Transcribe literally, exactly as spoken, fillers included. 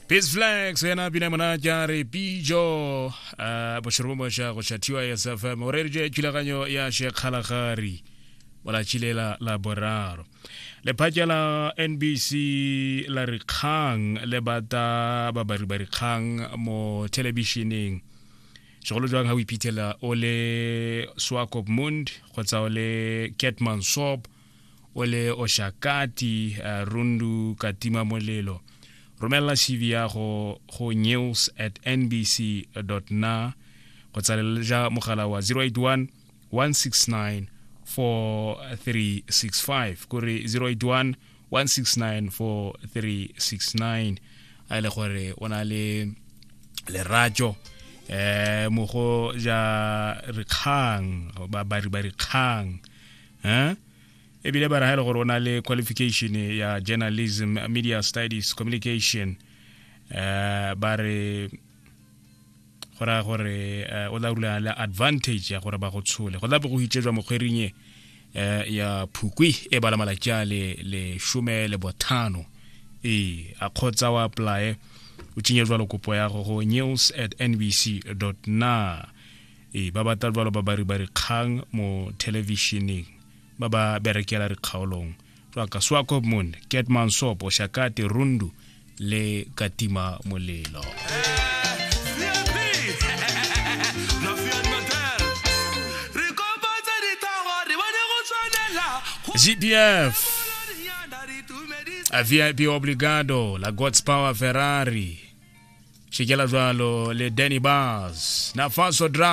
Peace Flex ena pina monate a re pijo uh, bošoro bo moša go šathiwa S F M o rereditše thulaganyo ya Shekgalagari molatšile la la boraro. Lephata la N B C la rikgang le bata babari ba rikgang mo thelebišeneng segolo jwang ha o iphitlhela o le Swakopmund kgotsa o le Keetmanshoop o le Oshakati uh, Rundu Katima Molelo. Romela C V ya go go news at n b c dot n a kgotsa le ja mogala wa zero eight one, one six nine, four three six five kore zero eight one, one six nine, four three six nine. A ile gore o na le lerato eh mo go ja rikgang ba ba ba rikgang eh ebile ba ra gore o na le qualification ya journalism, media studies, communication eh ba re gora gore o la rula le advantage ya gore ba go tshole go tla bo go hitšetswa mokgwering eh ya Phukwi e bala malatsi a le le shome le bothano e a khotsa wa apply o tšinye jwalo kopo ya go go news at n b c dot n a e ba batla jwalo ba bari ba rikgang mo televisioneng ba ba berekela rikgaolong jwa ka Swakopmund, Keetmanshoop, Oshakati, Rundu le Katima Molelo. G P F a V I P Obligado la God's Power Ferrari Shikela jwalo le Danny Bars na Faso Drum.